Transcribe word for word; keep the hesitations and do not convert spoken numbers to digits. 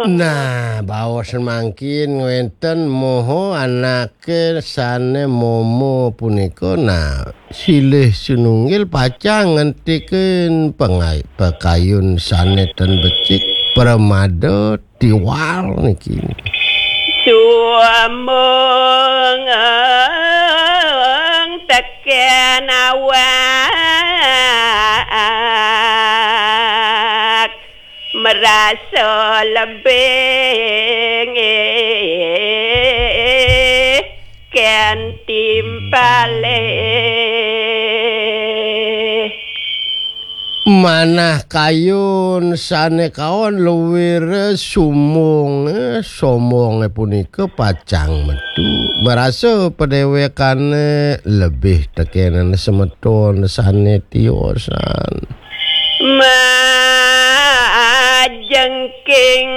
Nah, baos mangkin wénten moho anake sane momo punika. Nah, silih sinunggil pacang ngentikin pengai-, pekayun sane ten becik pramada tiwal niki. Suamung teken awak merasa lebih ken timpale. Manah kayun sane kaon luwire sumbunge, sombonge punika pacang metu. Marasa padewekane lebih tekenen semeton sane tiosan. Majengking